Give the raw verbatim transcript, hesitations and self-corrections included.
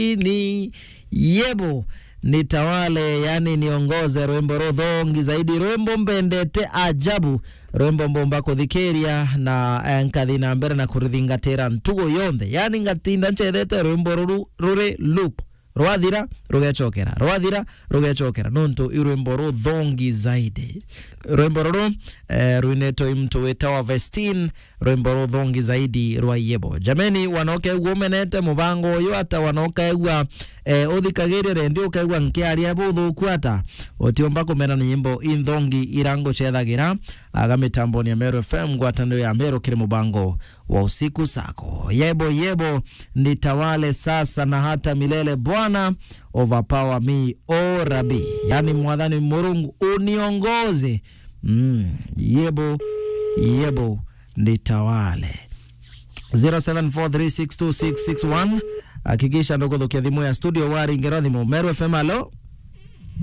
Ni Yebo, nitawale, yani niongoze, rwimbo ruthongi zaidi, rwimbo mbendete ajabu, rwimbo mbomba kuthikiria na, eh, nkathi na mbere na kurithingatira ntugo yonthe. Yani ngatinda nchethete rwimbo ruru ruri loop. Rwathira, rugecokera. Rwathira, rugecokera. Nontu i rwimbo ruthongi zaidi. Rwimbo ruru, eh, rwinetwe i muntu witawa Vestin, rwimbo ruthongi zaidi rwa Yebo. Jameni, wanoka ugwo umenete mubango uyu ata? Wanoka ugwa, eh, uthikagiria redio ukaigua nkiaria buthuku ata? Utiumba kumena ni nyimbo inthongi ira ngucethagira, aga mitamboni ya Meru F M, ngwataniro ya Meru kiri mubango wa usiku sako. Yebo, yebo, nitawale sasa na hata milele, Bwana, overpower me, oh Rabbi. Yani, Mwathani Murungu, uniongoze. Mm, yebo, yebo, nitawale. Zero seven four three six two six six one. Hakikisha ndukuthukia thimu ya studio, waringirwa thimu. Meru F M, alo?